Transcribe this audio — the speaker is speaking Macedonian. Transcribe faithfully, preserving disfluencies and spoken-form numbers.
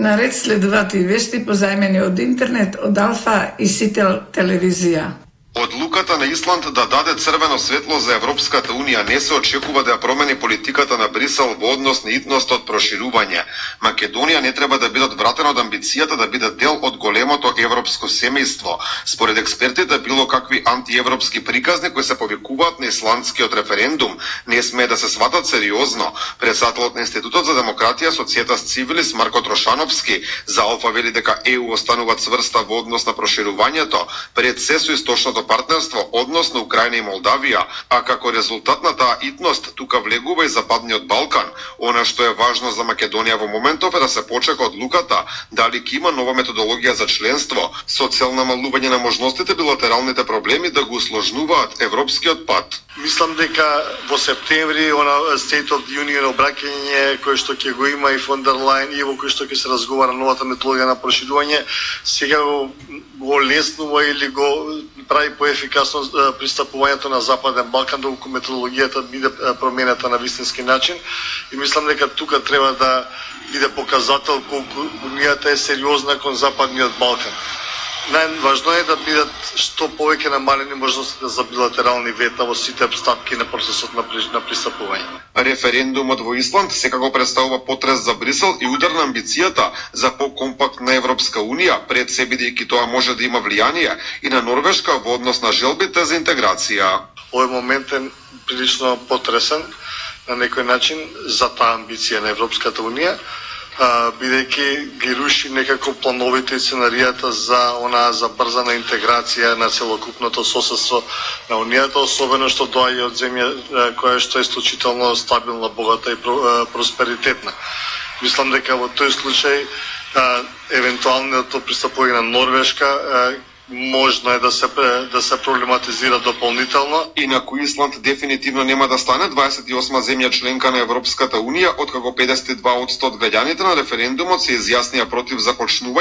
Наред следуваат и вести позајмени од интернет од Алфа и Сител телевизија. Одлуката на Исланд да даде црвено светло за Европската Унија не се очекува да ја промени политиката на Брисел во однос на итност од проширување. Македонија не треба да биде одвратена од амбицијата да биде дел од големото европско семејство. Според експертите, било какви антиевропски приказни кои се повикуваат на исландскиот референдум не смее да се сватат сериозно. Председателот на Институтот за демократија Societas Civilis Марко Трошановски за Алфа вели дека Е У останува цврста во однос на проширувањето пред се со источното партнерство, однос на Украина и Молдавија, а како резултат на таа итност тука влегува и Западниот Балкан. Она што е важно за Македонија во моментов е да се почека одлуката дали ќе има нова методологија за членство со цел намалување на можностите билатералните проблеми да го усложнуваат европскиот пат. Мислам дека во септември она State of the Union обраќање кој што ќе го има и фон дер Лајен и во кој што ќе се разговара новата методологија на проширување, сега го, го леснува или го прави поефикасно пристапувањето на Западен Балкан доколку методологијата биде променета на вистински начин и мислам дека тука треба да биде показател колку Унијата е сериозна кон Западниот Балкан. Најважно е да бидат што повеќе намалени можностите за билатерални вета во сите стапки на процесот на пристапување. Референдумот во Исланд секако представува потрес за Брисел и удар на амбицијата за по-компактна Европска Унија, пред се бидејќи тоа може да има влијание и на Норвешка во однос на желбите за интеграција. Овој момент е прилично потресен на некој начин за таа амбиција на Европската Унија, бидејќи ги руши некако плановите и сценаријата за она забрзана интеграција на целокупното соседство на Унијата, особено што доаѓа од земја која што е исклучително стабилна, богата и просперитетна. Мислам дека во тој случај евентуалното пристапување на Норвешка можно е да се да се проблематизира дополнително. Инаку Исланд дефинитивно нема да стане дваесет и осма земја членка на Европската Унија, откако педесет и два одсто од граѓаните на референдумот се изјаснија против започнување